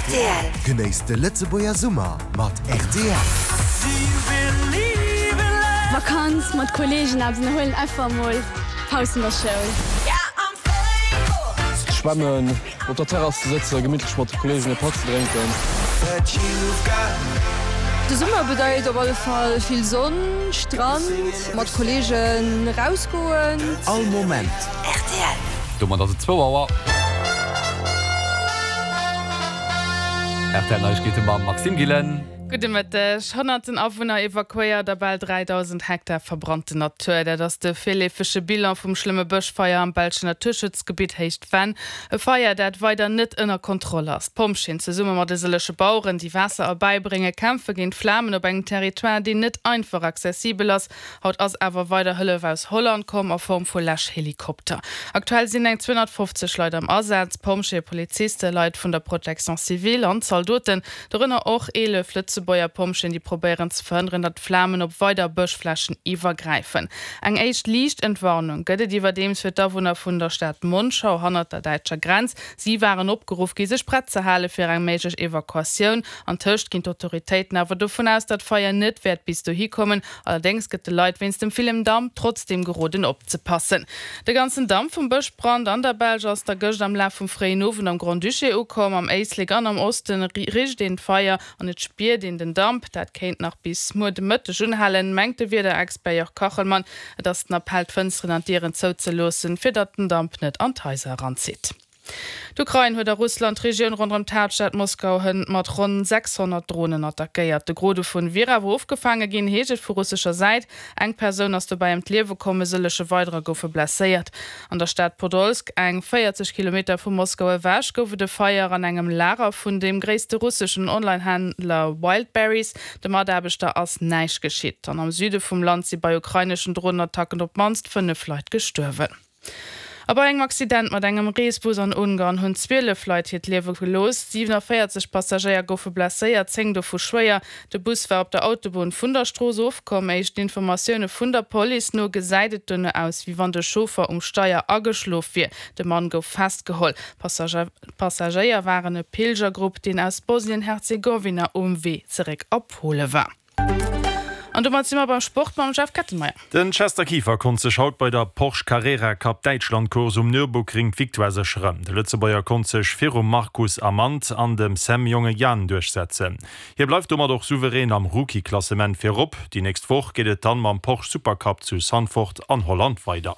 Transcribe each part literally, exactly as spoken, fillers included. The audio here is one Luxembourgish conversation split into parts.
Rtl. Genéisst de Lëtzebuerger Summer mat rtl. Vakanz mat Kolleegen eppes ënnerhuelen, einfach mol Paus vun der Schoul. Schwammen, op der Terrass ze sëtzen, gemittlech mat de Kolleegen e Patt ze drénken. De Summer bedeit op alle Fall vill Sonn, Strand, mat Kolleegen rausgoen. All Moment. Rtl. Domat ass et zwou Auer. Rtl Neiegkeete mam Maxime Gillen. Gudde Mëtteg. Honnerten Awunner evakuéiert a bal dräidausend Hektar verbrannten Natur, dat ass de virleefege Bilan vum schlëmme Bëschfeier am belschen Naturschutzgebitt Héicht Venn. E Feier, dat weider net ënner Kontroll ass. D'Pompjeeën zesumme mat e sëllege Baueren, déi Waasser erbäibréngen, kämpfe géint d'Flamen op engem Territoire, deen net einfach accessibel ass. Haut ass awer weider Hëllef aus Holland komm a Form vu Läschhelikopter. Aktuell sinn eng zweehonnertfofzeg Leit am Asaz, Pompjeeë, Polizisten, Leit vun der Protection civile an Zaldoten, dorënner och eelef Lëtzebuerger Pompjeeën, déi probéieren ze verhënneren, datt d'Flamen op weider Bëschflächen iwwergräifen. Eng éischt liicht Entwarnung gëtt et iwwerdeems fir d'Awunner vun der Stad Monschau hannert der däitscher Grenz. Si waren opgeruff gi sech prett ze hale fir eng méiglech Evakuatioun. Antëscht ginn d'Autoritéiten awer dovun aus, datt d'Feier net wäert bis dohi kommen. Allerdéngs gëtt de Leit wéinst dem villen Damp trotzdeem geroden opzepassen. De ganzen Damp vum Bëschbrand an der Belsch ass da gëscht am Laf vum fréien Owend am Grand-Duché ukomm. Am Éislek an am Oste richt een d'Feier an et spiert een den Damp. Dat kéint nach bis muer de Mëtteg unhalen, mengt de Wiederexpert Jörg Kachelmann. Et ass den Appell, d'Fënsteren an d'Dieren zouzeloossen, fir datt den Damp net an d'Haiser eranzitt. D'Ukrain huet a Russland d'Regioun ronderëm d'Haaptstad Moskau hënt mat ronn sechshonnert Dronen attackéiert. De Gros dovun wier awer ofgefaange ginn, heescht et vu russescher Säit. Eng Persoun ass dobäi ëm d'Liewe komm, e sëllege weiderer goufe blesséiert. An der Stad Podolsk, eng véierzeg Kilometer vu Moskau ewech, gouf et e Feier an engem Lager vun deem gréisste russeschen Online-Händler Wildberries. De Mataarbechter ass näischt geschitt. An am Süde vum Land si bei ukraineschen Dronenattacken op d'mannst fënnef Leit gestuerwen. A bei engem Accident mat engem Reesbus an Ungarn hunn zwielef Leit hiert Liewe gelooss. siwenavéierzeg Passagéier goufe blesséiert, zéng dovu schwéier. De Bus war op der Autobunn vun der Strooss ofkomm. Éischten Informatioune vun der Police no gesäit et dono aus, wéi wann de Chauffer um Steier ageschlof wier. De Mann gouf festgeholl. D'Passagéier waren e Pilgergrupp, deen aus Bosnien-Herzegowina um Wee zeréck a Pole war. An domat si mer beim Sport mam Jeff Kettenmeyer. Den Chester Kieffer konnt sech haut bei der Porsche Carrera Cup Däitschland Course um Nürburgring d'Victoire sécheren. De Lëtzebuerger konnt sech virum Marcus Amand an dem Sam Jongejan duerchsetzen. Hie bleift domat och souverän am Rookie-Klassement virop. Déi nächst Woch geet et dann mam Porsche Supercup zu Zandvoort an Holland weider.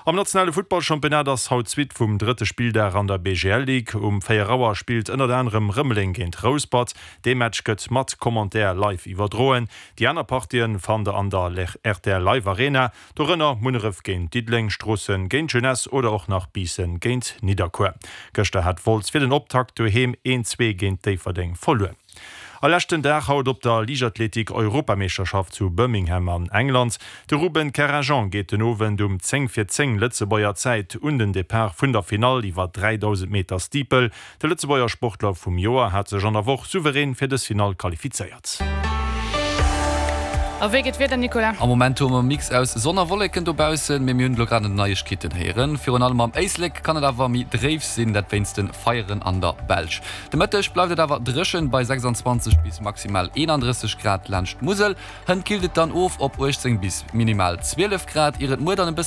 Am nationale Futtballchampionnat ass haut d'Suite vum drëtte Spilldag an der B G L Ligue. Um véier Auer spillt ënnert anerem Rëmeleng géint Rouspert. Dee Match gëtt mat Commentaire live iwwerdroen. Déi aner Partien fannt der an der R T L Live Arena, dorënner Munneref géint Diddeleng, Stroossen géint Jeunesse oder och nach Biissen géint Nidderkuer. Gëschter hat Wolz fir den Optakt doheem een zwee géint Déifferdeng verluer. A leschten Dag haut op der Liichtathletik-Europameeschterschaft zu Birmingham an England. De Ruben Kerrajean geet den Owend um zéng vir zéng Lëtzebuerger Zäit un den Depart vun der Finall iwwer dräidausend Meter Steeple. De Lëtzebuerger Sportler vum Joer hat sech an der Woch souverän fir dës Finall qualifizéiert. A wéi geet d'Wieder, Nicolas? Am Moment hu mer e Mix aus Sonn a Wolleken dobaussen, mee mir hunn elo grad net Neiegkeeten héieren. Virun allem am Éislek kann et awer méi dréif sinn, dat wéinst de Feieren an der Belsch. De Mëtteg bleift et awer dréchen bei sechsandzwanzeg bis maximal eenandrësseg Grad laanscht d'Musel. Hënt killt et dann of op uechtzéng bis minimal zwielef Grad, ier et muer dann e bësse